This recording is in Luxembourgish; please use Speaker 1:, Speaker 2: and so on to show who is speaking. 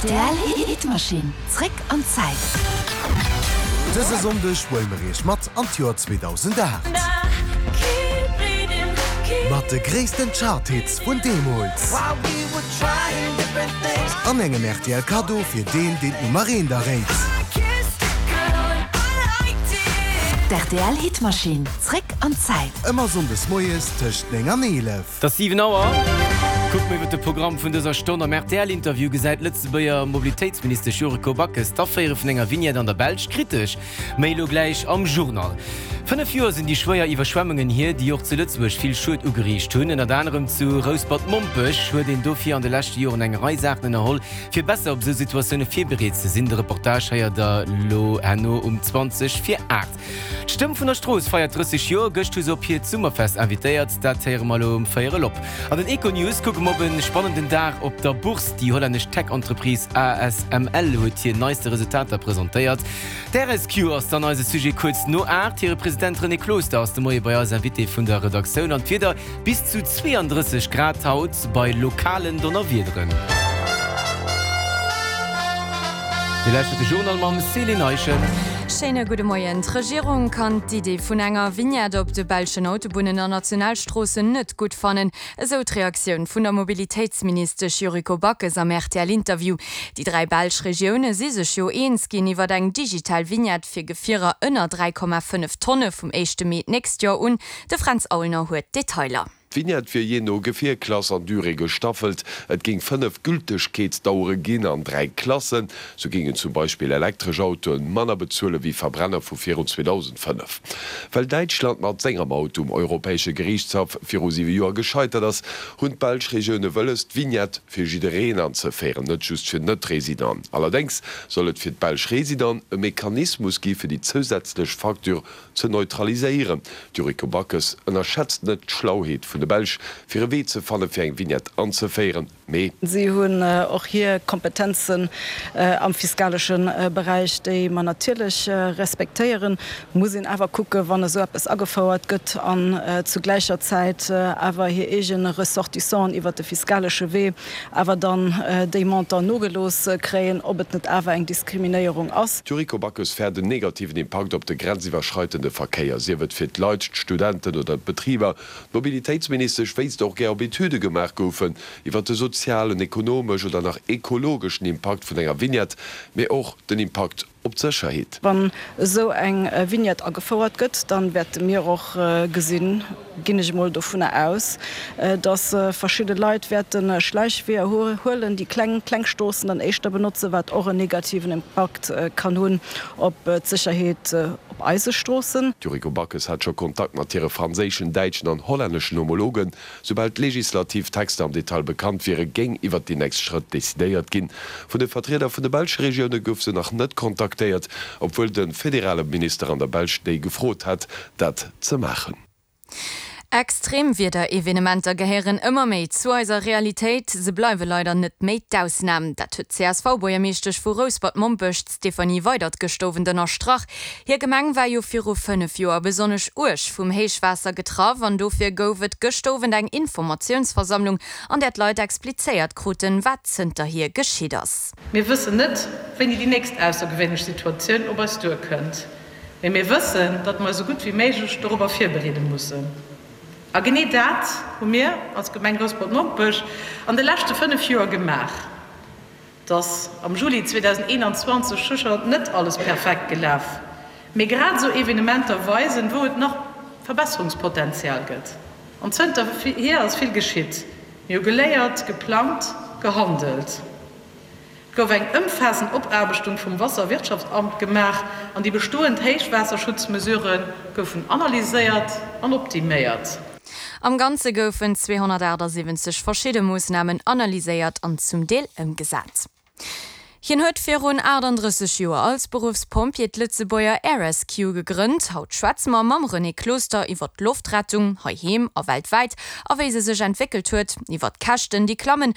Speaker 1: Rtl Hitmaschinn, zréck an d'Zäit.
Speaker 2: Dëse Sonndeg huele mer iech mat an d'Joer 2008. Mat de gréissten Chart-Hits vun deemools. An engem rtl Kaddo fir deen, deen d'Nummer eent erréit.
Speaker 1: D'RTL Hitmaschinn, zréck an d'Zäit.
Speaker 2: Ëmmer Sonndes moies tëscht 9 an 11.
Speaker 3: Et ass 7 Auer. Kucke mer iwwer de Programm vun dëser Stonn. Am RTL-Interview gesäit d'Lëtzebuerger Mobilitéitsministesch Yuriko Backes d'Aféiere vun enger Vignette an der Belsch kritesch. Méi elo gläich am Journal. 5 Joer sinn déi schwéier Iwwerschwemmungen hier, déi och zu Lëtzebuerg vill Schued ugeriicht hunn. Ënnert anerem zu Rouspert-Mompech huet een dofir an de leschte Joren eng Rei Saachen ënnerholl, fir besser op esou Situatioune virbereet ze sinn. De Reportage héiert der elo herno um 20 vir 8. D'Stëmm vun der Strooss feiert 30 Joer. Gëscht hu se op hiert Summerfest invitéiert. Dat héiere mer elo um Véierel op. An den Econews kucke mer op e spannenden Dag op der Bourse. Déi hollännesch Tech-Entreprise ASML huet hir neiste Resultater presentéiert. D'RSQ ass dann eise Sujet kuerz no 8. Hire President René Closter ass de Moie bei eis Invité vun der Redaktioun. An d'Wieder, Bis zu 32 Grad haut bei lokalen Donnerwiederen. Dir lauschtert de Journal mam Céline Eischen.
Speaker 4: Schéine gudde Moien. D'Regierung kann d'Idee vun enger Vignette op de belschen Autobunnen an Nationalstroossen net gutt fannen, esou d'Reaktioun vun der Mobilitéitsministesch Yuriko Backes am RTL-Interview. Déi 3 belsch Regioune si sech jo eens ginn iwwer eng digital Vignette fir Gefierer ënner 3,5 Tonne vum éischte Mee d'nächst Joer un. De Fränz Aulner huet d'Detailer.
Speaker 5: D'Vignette wier jee no Gefierklass an Durée gestaffelt. Et géing 5 Gültegkeetsdauere ginn an 3 Klassen. Sou géingen zum Beispill elektresch Autoen manner bezuele wéi Verbrenner vu virun 2005. Well Däitschland mat senger Maut um Europäesche Geriichtshaff viru 7 Joer gescheitert ass, hunn d'belsch Regioune wëlles, d'Vignette fir jiddereen anzeféieren, net just fir Net-Residenten. Allerdéngs soll et fir d'belsch Residenten e Mechanismus gi fir déi zousätzlech Facture ze neutraliséieren. D'Yuriko Backes ënnerschätzt net d'Schlauheet vun de Belsch, fir e Wee ze fanne fir eng Vignette anzeféieren, mee.
Speaker 6: Si hunn och hir Kompetenzen am fiskalesche Beräich, déi mer natierlech respektéieren. Muss een awer kucken, wann esou eppes agefouert gëtt an zu gläicher Zäit awer hir eege Ressortissanten iwwert de fiskalesche Wee awer dann déi Montant nogelooss kréien, ob et net awer eng Diskriminéierung ass.
Speaker 5: D'Yuriko Backes fäert en negativen Impakt op de grenziwwerschreitende Verkéier, sief et fir d'Leit, d'Studenten oder d'Betriber. D'Mobilitéitsministesch wéisst och gär, ob Etüde gemaach goufen iwwer de sozialen, ekonomesch oder nach ekologeschen Impakt vun enger Vignette, mee och den Impakt op d'Sécherheet.
Speaker 6: Wann esou eng Vignette agefouert gëtt, da wäerte mir och gesinn, ginn ech emol dovunner aus, datt verschidde Leit wäerte Schläichweeër huelen, déi kleng, kleng Stroossen dann éischter benotzen, wat och en negativen Impakt kann hunn op d'Sécherheet op eise Stroossen.
Speaker 5: D'Yuriko Backes hat scho Kontakt mat hire franséischen, däitschen an hollänneschen Homologen. Soubal d'legislativ Texter am Detail bekannt wieren, géing iwwert déi nächst Schrëtt decidéiert ginn. Vun de Vertrieder vun de belsche Regioune gouf se nach net kontaktéiert, obwuel de federale Minister an der Belsch déi gefrot hat, dat ze maachen.
Speaker 4: Extremwiederevenementer gehéieren ëmmer méi zu eiser Realitéit. Se bleiwe leider net méi d'Ausnam. Dat huet d'CSV-Buergermeeschtesch vu Rouspert-Mompech, d'Stéphanie Weydert, gëscht Owend ënnerstrach. Hir Gemeng war jo viru 5 Joer besonnesch uerg vum Héichwaasser getraff an dofir gouf et gëscht Owend eng Informatiounsversammlung, an där d'Leit explizéiert kruten, wat zënterhier geschitt ass.
Speaker 7: Mir wëssen net, wéini déi nächst aussergewéinlech Situatioun op eis duerkënnt, mee mir wëssen, datt mer eis esou gutt wéi méiglech dorobber virbereede mussen. A genee dat hu mir als Gemeng Rouspert-Mompech an de leschte 5 Joer gemaach. Et ass am Juli 2021 sécher net alles perfekt gelaf, mee grad esou Evenementer weisen, wou et nach Verbesserungspotenzial gëtt. An zënterhier ass vill geschitt. Mir hu geléiert, geplangt, gehandelt. Et gouf eng ëmfaassend Opaarbechtung vum Wasserwirtschaftsamt gemaach an déi bestoend Héichwaasserschutzmesurë goufen analyséiert an optiméiert.
Speaker 4: Am Ganze goufen 278 verschidde Moossnamen analyséiert an zum Deel ëmgesat. Hien huet virun 38 Joer als Beruffspompjee d'Lëtzebuerger Air Rescue gegrënnt. Haut schwätze mer mam René Closter iwwer d'Loftrettung, heiheem a weltwäit, a wéi se sech entwéckelt huet, iwwer d'Käschten, déi klammen.